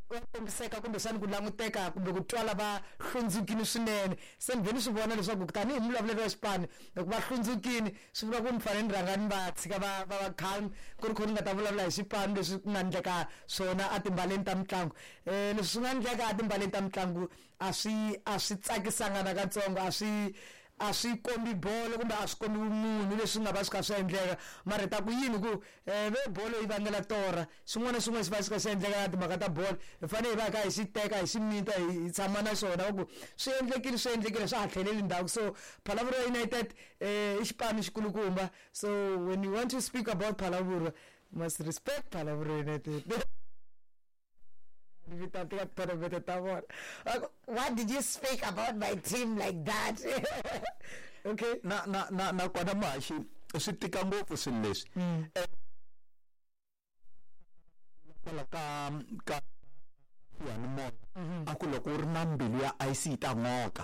Va kombiseka kumbexani ku languteka kumbe ku twala va hlundzukile swinene. Se ni vhe ni swi vona leswaku tanihi mulavuleri wa xipano, loko va hlundzukile swi vula ku ni fanele ni rhanga ni va tshika va va va calm, ku ri kho ni nga ta vulavula hi xipano leswi ku nga ndleka swona etimbaleni ta mitlangu. Leswi swi nga ndleka etimbaleni ta mitlangu a swi tsakisanga nakatsongo, a swi kombi bolo kumbe a swi kombi vumunhu leswi nga va swi kha swi endleka. Mara hi ta ku yini ku ve bolo yi vangela torha, xin'wana na xin'wana xi va xi kha xi endleka na timhaka ta bolo, hi fanele hi va hi kha hi xi teka, hi xi mita, hi tshama na xona, va ku swi endlekile, swi endlekile, swa ha tlheleli ndzhaku. So Phalaborwa United i xipano xikulukumba, so when you want to speak about Phalaborwa, you must respect Phalaborwa United. Vita tika tournament ta vona. What did you speak about my team like that? Okay. Na kona muhaxi, swi tika ngopfu swilo leswi. Kwala ka xiyanimoya a ku loko u ri na mbilu ya ice yi ta n'oka.